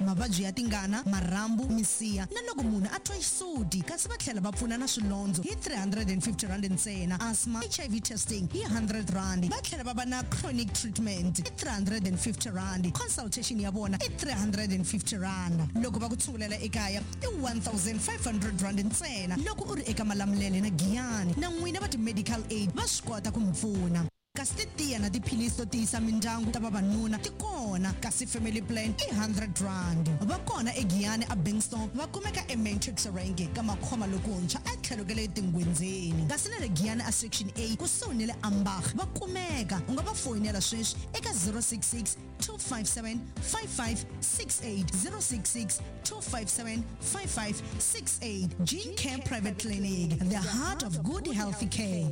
Mavabyi ya tingana, marhambu, misiha na loko munhu a twa xisuti. Kasi va tlhela va pfuna na swilondzo hi R350 ntsena, asthma, HIV testing hi R100. Va tlhela va va na chronic treatment i R350, consultation ya vona i R350. Loko va ku tshungulela ekaya i R1500 ntsena loko u ri eka Malamulele na Giyani. Na n'wina va ti-medical aid va swi kota ku mi pfuna. Kasi titiya na tiphilisi to tiyisa mindyangu ta vavanuna ti kona, kasi family plan i R100. Va kona eGiyani a Bingstone, va kumeka eMatrix Rank ka Makhoma lokuntshwa etlhelo ka le Tingwenzeni. Kasi na le Giyani a Section A kusuhi ni le Ambach va kumeka. U nga va foyinela sweswi eka 066 257 5568, 066 257 5568. Gene Care Private Clinic, the heart of good healthy care.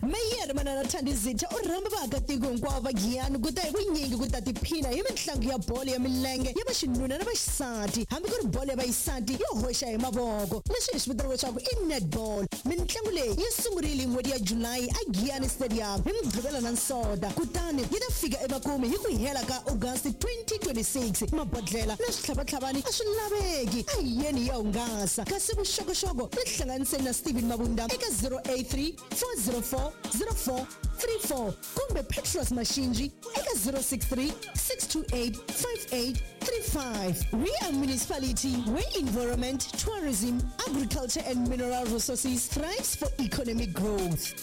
Meyara Manana Thandi Zitha u rhamba vaakatiko hinkwavo va Giyani ku ta hi vunyingi ku ta tiphina hi mitlangu ya bolo ya milenge ya vaxinuna na vaxisati, hambi ku ri bolo ya vaxisati yo hoxa hi mavoko, leswi hi swi vitanaka leswaku i netball. Mintlangu leyi yi sungurile hi n'hweti ya July eGiyani Stadium hi Mugqivela na Nsota, kutani yi ta fika emakumu hi ku hela ka August 2026. Mabodlhela na switlhavatlhavani a swi laveki, a hi yeni hi ya hungasa. Kasi vuxokoxoko tihlanganiseni na Steven Mabunda eka 083 404 0434 kumbe Petros Mashinji eka 063 628 5835. We are municipality where environment, tourism, agriculture and mineral resources thrives for economic growth.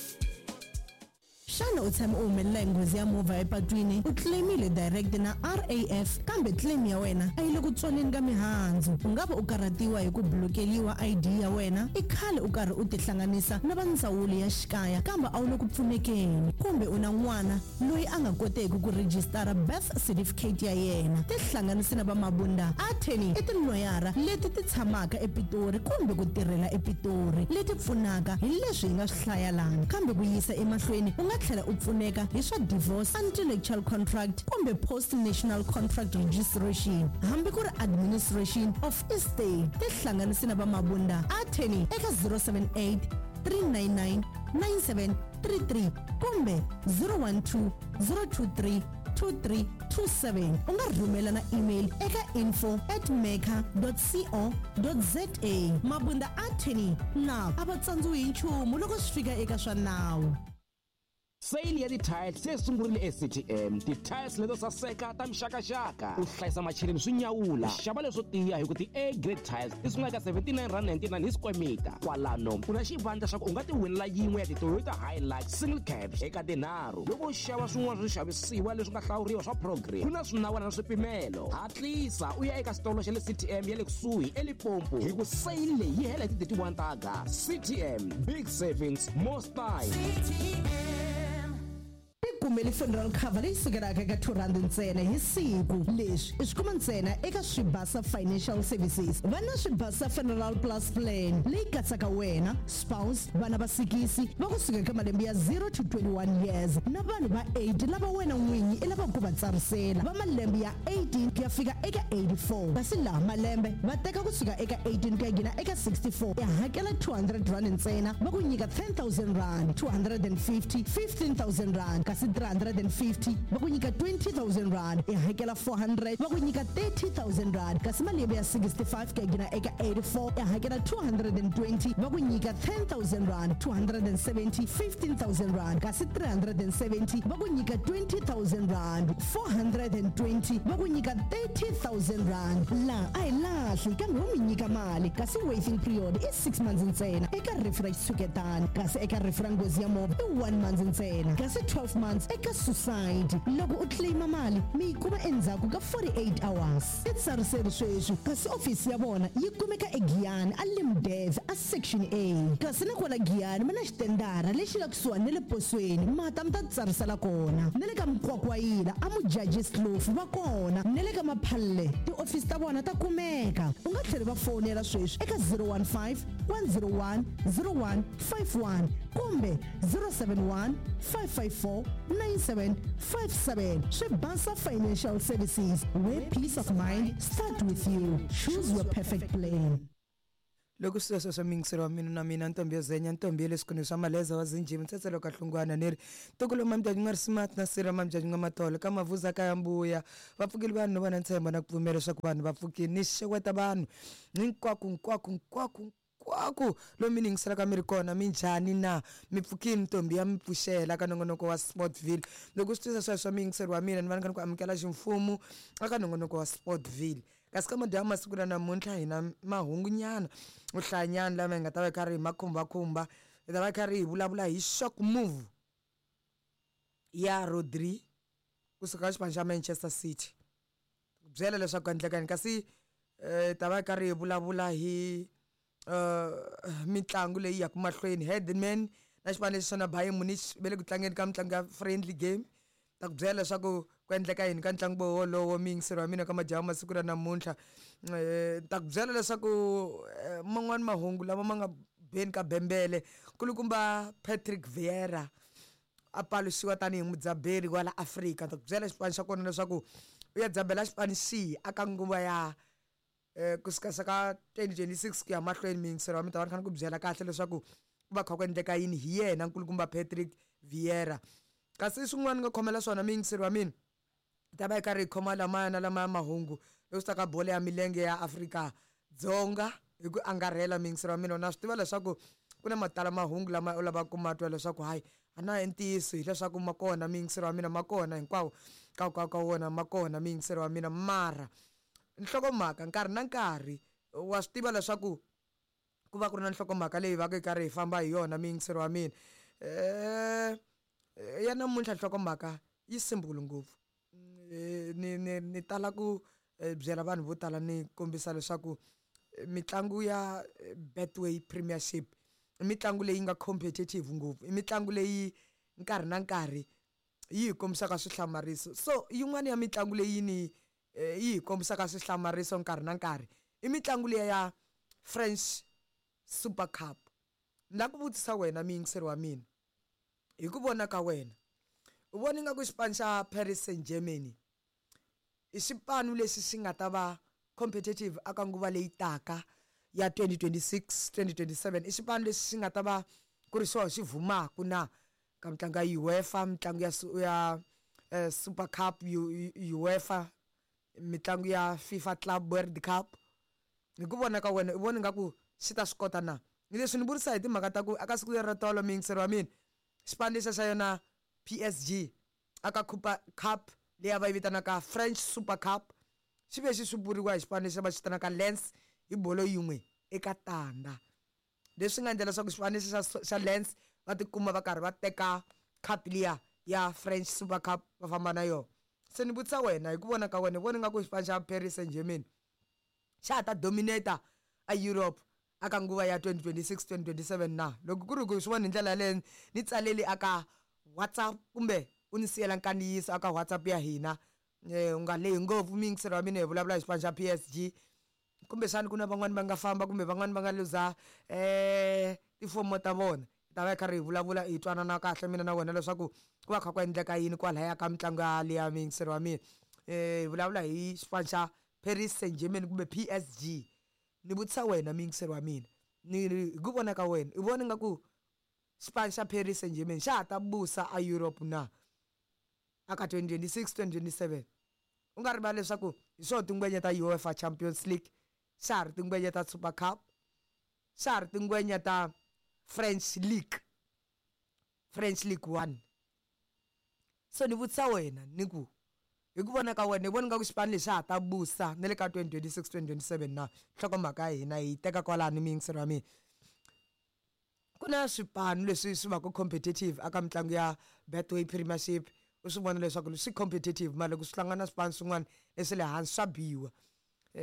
Xana u tshame u humelela hi nghozi ya movha epatwini? U claim-ile direct na RAF kambe claim ya wena a yi le ku tswaleni ka mihandzu. U nga va u karhatiwa hi ku blokeliwa ID ya wena, i khale u karhi u tihlanganisa na va ndzawulo ya xikaya kambe a wu le ku pfunekeni, kumbe u na n'wana loyi a nga koteki ku rhijisitara birth certificate ya yena. Tihlanganise na va Mabunda Attorney i tiloyara leti ti tshamaka ePitori kumbe ku tirhela ePitori leti pfunaka hi leswi hi nga swi hlaya lana. Kambe ku yisa emahlweni u nga tlhela u pfuneka hi swa divorce, antelectual contract kumbe post national contract registration hambi ku ri administration of estate. Tihlanganise na va Mabunda Attorney eka 078 399 9733 kumbe 012 023 2327. U nga rhumela na email eka info at mecca co za. Mabunda Attorney na a va tsandziwi hi nchumu loko swi fika eka swa nawu. Sale ya ti-tiles se sungurile eCTM. Ti-tiles leto saseka ta mixakaxaka. U hlayisa macheleni swi nyawula. Xava leswo tiya hi ku ti-A grade tiles ti sungula eka R79.99 hi square meter. Kwalano u na xivandla xa ku u nga ti winela yin'we ya ti-Toyota Hilux single cab eka tinharhu. Loko u xava swin'wana swo xavisiwa leswi nga hlawuriwa swa program, ku na swinawana na swipimelo. Hatlisa u ya eka xitolo xa le CTM ya le kusuhi eLimpopo hi ku sale leyi yi hela hi ti 31 ta August. CTM, big savings, more style. Tikumeli funeral cover leyi sukelaka eka R2 ntsena hi siku. Leswi i swi kuma ntsena eka Swibasa Financial Services. Va na Swibasa Funeral Plus Plan leyi katsaka wena, spouse, vana va sikisi va kusuka eka malembe ya 0 to 21 years na vanhu va 8 lava wena n'winyi i lavaka ku va tsarisela va malembe ya 18 ku ya fika eka 84. Kasi laha malembe va teka kusuka eka 18 ku ya gina eka 64, i hakela R200 ntsena va ku nyika R10,000, 250 R15,000, kasi 350 va ku nyika R20,000, i hakela 400 va ku nyika R30,000, kasi malembe ya 65 ku ya gina eka 84 i hakela 220 va ku nyika R10,000, 270 R15,000, kasi 370 va ku nyika R20,000, 420 va ku nyika R30,000. Laha a hi lahli kambe ho mi nyika mali, kasi waiting period i 6 months ntsena eka rifu ra xitshuketani, kasi eka rifu ra nghozi ya movha i 1 month ntsena, kasi 12 months eka suicide. Loko u claima mali mi yi kuma endzhaku ka 48 hours. Titsariseri sweswi, kasi ofisi ya vona yi kumeka eGiyani a Limdev a Section A. Kasi na kwala Giyani va na xitendara lexi nga kusuhani na le posweni, ma ta mi ta titsarisela kona. Na le ka Mkwakwayila a Mudjadji's Kloof va kona, na le ka Maphalle tiofisi ta vona ta kumeka. U nga tlhela va fowunela sweswi eka 015 101 0151 kumbe 071 554 9757. Swibasa Financial Services, where peace of mind start with you. Choose your perfect plan. Loko sweswo swa miyingiselo wa mina na mina ntombi yo zenya ntombi ya le swikhundleni swa maleza wa zinjhimi ntsetselo ka hlungwana ni ri ntukulu mambyanyinga n'wa risimati na sira mambyanyinga matolo ka mavuza ka ya mbuya va pfukile vanhu no va na ntshembo na ku pfumela leswaku vanhu va pfukile ni xeweta vanhu hinkwako hinkwako hinkwako hinkwako lomu mi ni yingiselaka mi ri kona minjhani na mi pfukile ntombi ya mi pfuxela ka nongonoko wa Sportville loko swi twisa sweswo miyingiselo wa mina ni va ni kha ni ku amukela ximfumo eka nongonoko wa Sportville. Kasi ka madyambu masiku la namuntlha hi na mahungunyana yo hlayanyana lama hi nga ta va hi karhi hi ma khumbakhumba. Hi ta va hi karhi hi vulavula hi shock move ya Rodri kusuka ka xipano xa Manchester City. Ku byela leswaku ku endleka yini kasi hi ta va hi karhi hi vulavula hi mitlangu leyi yaka mahlweni Headman na xipano lexi xana Bayern Munich va le ku tlangeni ka mitlangu ya friendly game. Ta ku byela leswaku ku endleka yini ka ntlangu wolowo muyingiseri wa mina ka madyambu masiku ra namuntlha. Ta ku byela leswaku man'wani mahungu lama ma nga beni ka bembele kulukumba Patrick Vieira a paluxiwa tanihi mudzaberi wa la Afrika. Ni ta ku byela xipano xa kona leswaku u ya dzabela xipano xihi aka nguva ya kusuka ka 2026 ku ya mahlweni muyingiseri wa mina ta va ni kha ni ku byela kahle leswaku ku va kha ku endleka yini hi yena nkulukumba Patrick Vieira. Kasi swin'wana ni nga khomela swona muyingiseri wa mina hi ta va hi karhi hi khoma lamaya na lamaya mahungu loko swi ta ka bolo ya milenge ya Afrika-Dzonga hi ku angarhela muyingiseri wa mina na swi tiva leswaku ku na matala mahungu lama u lavaka ku ma twa leswaku hayi a na i ntiyiso hileswaku ma kona muyingiseri wa mina ma kona hinkwawo ka ka ka wona ma kona muyingiseri wa mina mara nhlokomhaka nkarhi na nkarhi wa swi tiva leswaku ku va ku ri na nhlokomhaka leyi va ka yi karhi hi famba hi yona muyingiseri wa mina ya namuntlha nhlokomhaka yi simple ngopfu ni ni ni tala ku byela vanhu vo tala ni kombisa leswaku mitlangu ya Betway Premiership i mitlangu leyi nga competitive ngopfu i mitlangu leyi nkarhi na nkarhi yi hi kombisaka swihlamariso so yin'wana ya mitlangu leyi ni yi hi kombisaka swihlamariso nkarhi na nkarhi i mitlangu liya ya French Super Cup. Ni lava ku vutisa wena muyingiseri wa mina hi ku vona ka wena u vona ingaku xipano xa Paris Saint Germany i xipano lexi xi nga ta va competitive aka nguva leyi taka ya 2026 2027 i xipano lexi xi nga ta va ku ri xona xi vhumaku na ka mitlangu ya UEFA mitlangu ya ya Super Cup UEFA mitlangu ya FIFA Club World Cup hi ku vona ka wena u vona ingaku xi ta swi kota na ni leswi ni vurisa hi timhaka ta ku aka siku leri ra tolo muyingiseri wa mina xipano lexiya xa yona PSG aka Cupa Cup leyi a va yi vitanaka French Super Cup xi ve xi swipuriwa hi xipano lexi va xi vitanaka Lens hi bolo yin'we eka tanda leswi nga endla leswaku xipano lexi xa xa Lens va tikuma va karhi va teka cup liya ya French Super Cup va famba na yona se ni vutisa wena hi ku vona ka wena u vona ingaku xipano xa Paris Saint-Germain xa ha ta dominate a Europe aka nguva ya 2026 2027 na loko ku ri ku swi vona hi ndlela yaleyo ni tsaleli aka WhatsApp kumbe u ni siyela nkandziyiso aka WhatsApp ya hina u nga lehi ngopfu muyingiseri wa mina hi vulavula hi xipano xa P_S_G kumbexani ku na van'wani va nga famba kumbe van'wani va nga luza tifomo ta vona hi ta va hi karhi hi vulavula hi twanana kahle mina na wena leswaku ku va kha ku endleka yini kwalaya ka mitlangu ya liya muyingiseri wa mina hi vulavula hi xipano xa Paris Saint-Germain kumbe P_S_G ni vutisa wena muyingiseri wa mina ni ri hi ku vona ka wena u vona ingaku xipano xa Paris Saint-Germain xa ha ta busa a Europe na aka 2026 2027 u nga rivali leswaku hi swona tingwenya ta UEFA Champions League xa ha ri tingwenya ta Super Cup xa ha ri tingwenya ta French League French League 1 so ni vutisa wena ni ku hi ku vona ka wena hi vona nga ku xipano lexi xa ha ta busa na le ka 2026 2027 na nhlokomhaka ya hina hi teka kwalano muyingiseri wa mina ku na swipano leswi swi va ku competitive aka mitlangu ya Betway Premiership u swi vona leswaku swi competitive mara loko swi hlangana na swipano swin'wana leswi le hansi swa biwa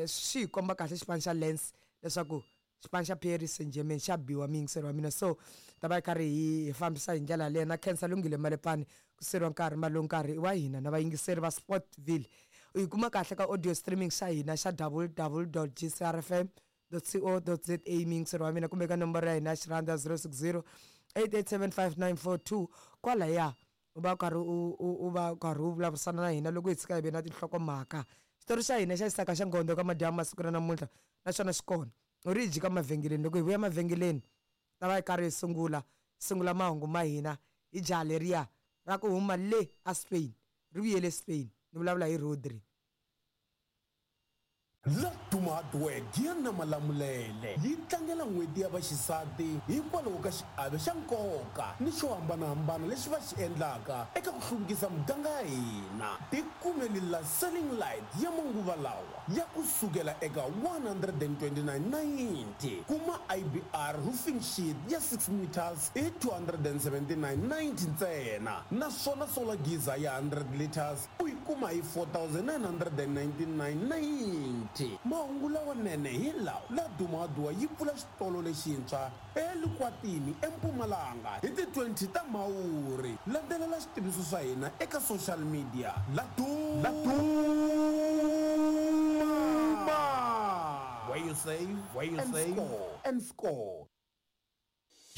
swi hi komba kahle xipano xa Lens leswaku xipano xa Paris Saint-Germain xa biwa muyingiseri wa mina so ta va hi karhi hi fambisa hi ndlela yaleyo na khensa Lunghile Malepane ku seriwa nkarhi mali nkarhi i wa hina na vayingiseri va Sportville u yi kuma kahle ka audio streaming xa hina xa www gcrfm co za muyingiseri wa mina kumbe ka nomboro ya hina ya xirhanda 060 8875942 kwalaya u va karhi u va karhi u vulavurisana na hina loko hi tshika hi ve na tinhlokomhaka xitori xa hina xa xisaka xa ngondo ka madyambu masiku ra namuntlha na xona xi kona. U ri hi jika mavhengeleni loko hi vuya mavhengeleni ta va hi karhi hi sungula sungula mahungu ma hina hi jaha leriya ra ku huma le a Spain ri vuyele Spain ni vulavula hi Rodri. Laduma Hardware Giya na Malamulele yi tlangela n'hweti ya vaxisati hikwalaho ka xiave xa nkoka ni xo hambanahambana lexi va xi endlaka eka ku hluvukisa muganga ya hina. Tikumeli la selling light ya manguva lawa ya ku sukela eka 129.90, kuma IBR roofing sheet ya 6 meters hi 279.90 ntsena, naswona solar geyser ya 100 liters u yi kuma hi 4999.90. Mahungu lawanene hi lawa, Laduma Hardware yi pfula xitolo lexintshwa eLukwatini eMpumalanga hi ti 20 ta Mhawuri. Landzelela switiviso swa hina eka social media. Laduma, where you save, where you and save score, and score.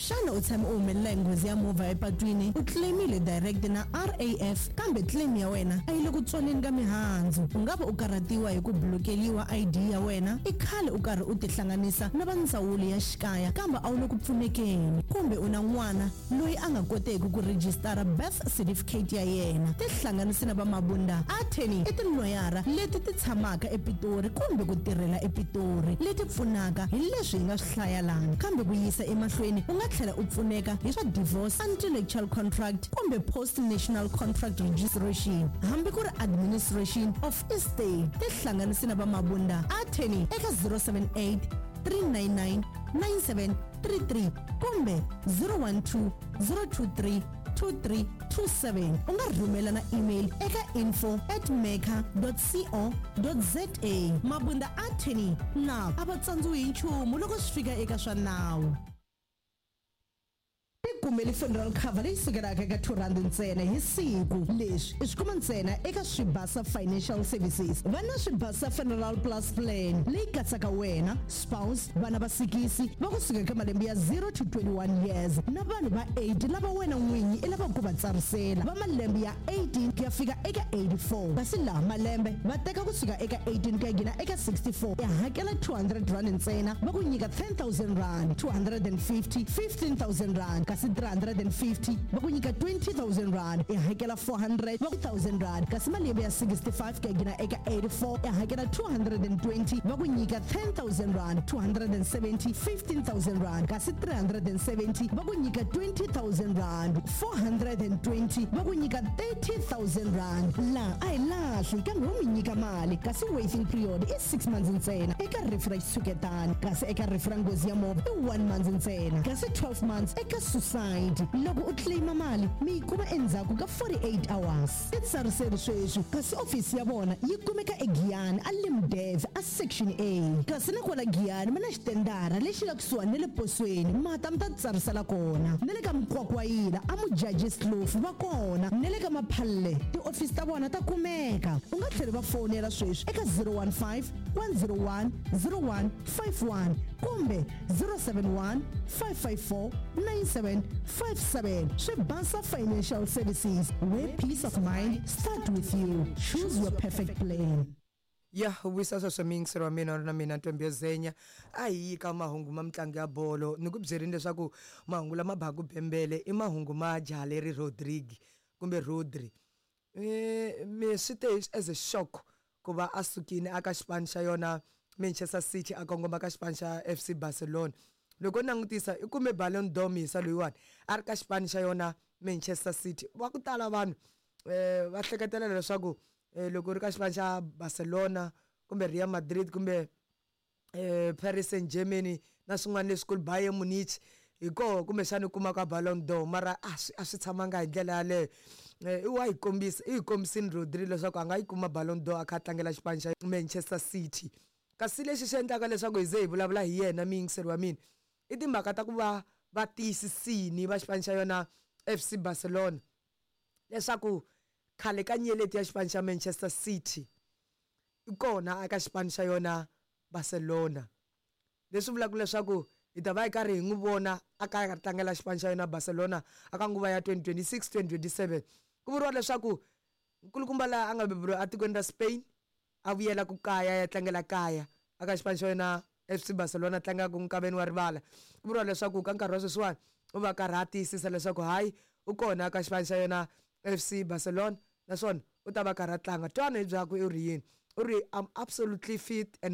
Xana u tshame u humelela hi nghozi ya movha epatwini, u claimile direct na RAF kambe claim ya wena a yi le ku tswaleni ka mihandzu? U nga va u karhatiwa hi ku blokeliwa ID ya wena, i khale u karhi u tihlanganisa na va ndzawulo ya xikaya kambe a wu le ku pfunekeni, kumbe u na n'wana loyi a nga koteki ku rejistara birth certificate ya yena? Tihlanganisi na va Mabunda Attorney, i tiloyara leti ti tshamaka ePitori kumbe ku tirhela ePitori leti pfunaka hi leswi hi nga swi hlaya lana, kambe ku yisa emahlweni u nga tlhela u pfuneka hi swa divorce, intellectual contract kumbe post national contract registration, hambi ku ri administration of estate. Tihlanganisi na va Mabunda Attorney eka 078 399 9733 kumbe 012 023 2327. U nga rhumela na email eka info@maker.co.za. Mabunda Attorney na a va tsandziwi hi nchumu loko swi fika eka swa nawu. Tikumeli funeral cover leyi sukelaka eka 2 rand ntsena hi siku. Leswi i swi kuma ntsena eka Swibasa Financial Services. Va na Swibasa Funeral Plus Plan leyi katsaka wena, spouse, vana va sikisi va kusuka eka malembe ya 0 to 21 years na vanhu va 8 lava wena n'winyi i lavaka ku va tsarisela va malembe ya 18 ku ya fika eka 84, kasi laha malembe va teka kusuka eka 18 ku ya nghena eka 64. I hakela 200 rand ntsena, va ku nyika 10,000 rand, 250 15,000 rand, kasi 350 va ku nyika 20,000 rand. I hakela 400 va ku 1,000 rand, kasi malembe ya 65 ku ya nghena eka 84 i hakela 220 va ku nyika 10,000 rand, 270 15,000 rand, kasi 370 va ku nyika 20,000 rand, 420 va ku nyika 30,000 rand. La a hi lahli kambe wo mi nyika mali, kasi waiting period i 6 months ntsena eka rifu ra xitshuketani, kasi eka rifu ra nghozi ya movha i 1 month ntsena, kasi 12 months eka suicide. Loko u claima mali mi yi kuma endzhaku ka 48 hours. Titsariseli sweswi, kasi ofisi ya vona yi kumeka eGiyani a Limdev a section A, kasi na kwala Giyani mi na xitendara lexi nga kusuhani na le posweni, mata mi ta tsarisela kona, na le ka Mkwakwayila a Mujaji Slofu va kona, na le ka Maphalle tiofisi ta vona ta kumeka. U nga tlheli va fonela sweswi eka 015 101 0151 kumbe 071 554 9757. Swibasa Financial Services, where peace of mind start with you. Choose your perfect plan. Ya vuyisa sweswo miyingiseri wa mina na mina Ntombi Zenya, a hi yi ka mahungu ma mitlangu ya bolo. Ni ku byerini leswaku mahungu lama baku bembele i mahungu ma jaha leri Rodrigue kumbe Rodri. Me swi te as a shock ku va a sukile aka xipano xa yona Manchester City a kongoma ka xipano xa FC Barcelona. Loko u langutisa i kume Ballon d'Or misa loyiwani a ri ka xipano xa yona Manchester City. Va ku tala vanhu va hleketelela leswaku loko u ri ka xipano xa Barcelona kumbe Real Madrid kumbe Paris Saint-Germain na swin'wana leswikulu, Bayern Munich, hi koho kumbexana u kumaka Ballon d'Or, mara a swi tshamanga hi ndlela yaleyo. I wa yi kombisa, i yi kombisini Rodri leswaku a nga yi kuma Ballon d'Or a kha a tlangela xipano xa Manchester City. Kasi lexi xi endlaka leswaku hi ze hi vulavula hi yena miyingiseri wa mina i timhaka ta ku va va tiyisisini va xipano xa yona FC Barcelona leswaku khale ka nyeleti ya xipano xa Manchester City i kona aka xipano xa yona Barcelona, leswi vulaka leswaku hi ta va hi karhi hi n'wi vona a ka tlangela xipano xa yona Barcelona aka nguva ya 2026 2027. Ku vuriwa leswaku nkulukumba laha a nga beburiwa etikweni ra Spain a vuyela ku kaya ya tlangela kaya aka xipano xa yona FC Barcelona tlangaka nkaveni wa rivala. Ku vuriwa leswaku ka nkarhi wa sweswiwani u va karhi a tiyisisa leswaku hayi u kona ka xipano xa yena FC Barcelona, naswona u ta va karhi a tlanga. Twana hi byakwe u ri yini, u ri, "I'm absolutely fit and